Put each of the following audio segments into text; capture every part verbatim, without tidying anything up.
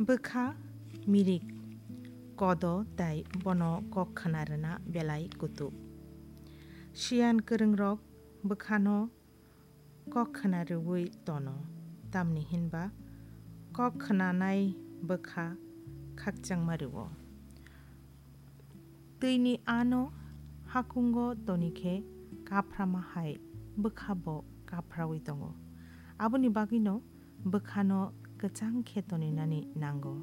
Bwkha mirik kodo tei bono kok khna rwna belai kutuk. Siyan kwrwngrok bwkhano kok khna rwui tono, tamni hinba kok khnanai bwkha khakchangma rwo. Twini ano hakungo toni khe kaphrama hai bwkha bo kaphraui tongo. Aboni bagwino bwkhano kwchang khe toninani nango.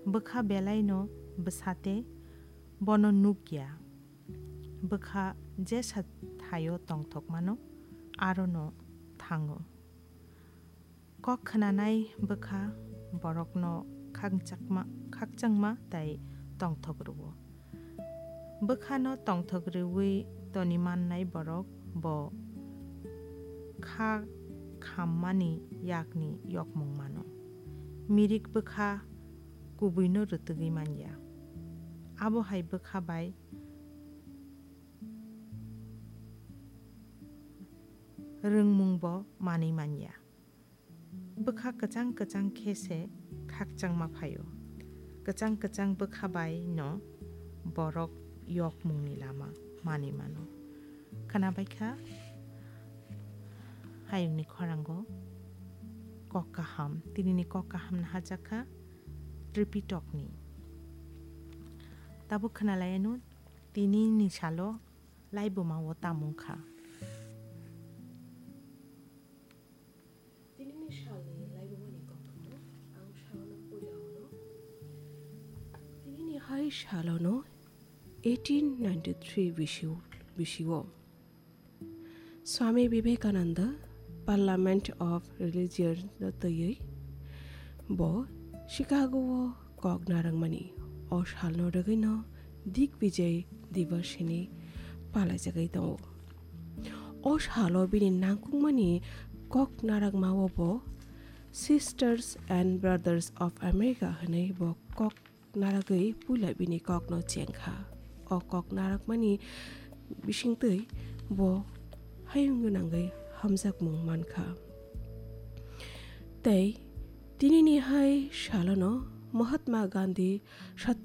Bwkha belaino bwsate bono nukya. Bwkha jesa thaio tongthokmano arono thango. Kok khnanai bwkha borokno khakchakma-, khakchangma tei tongthok rwo. Bwkhano tongthok rwui toni mannai borok bo kha khammani yakni yokmung mano. Mirik bwkha kubuino rwtwgwi manya. Abo hai bwkha bai rwngmungbo manwi manya. Bwkha kwchang kwchang khe se khakchangma phaio. Kwchang kwchang bwkha bai no borok yokmungni lama manwi mano. Khwnabai kha hayungni khorango kok kaham. Tinini kok kaham no hajak kha Tripitokni. Tabuk khwnalaiano tinini salo laibuma o tamung kha. Tinini salni laibumani koktwmano ang salno puila hwno. Tinini hai salono eighteen ninety-three bisi-, bisio Swami Vivekananda Parliament of Religion no twiwi bo Chicago o kok narwkmani o salno rwgwino Digvijay Diwas hinwi palaijagwi tongo. O salo bini nangkukmani kok narwkmao bo Sisters and Brothers of America hwnwi bo kok narwgwi puila bini kokno chengkha. O kok narwkmani bisingtwi bo hayung gwnangwi hamjakmung mankha. Tei tinini hai salono Mahatma Gandhi Satyagraha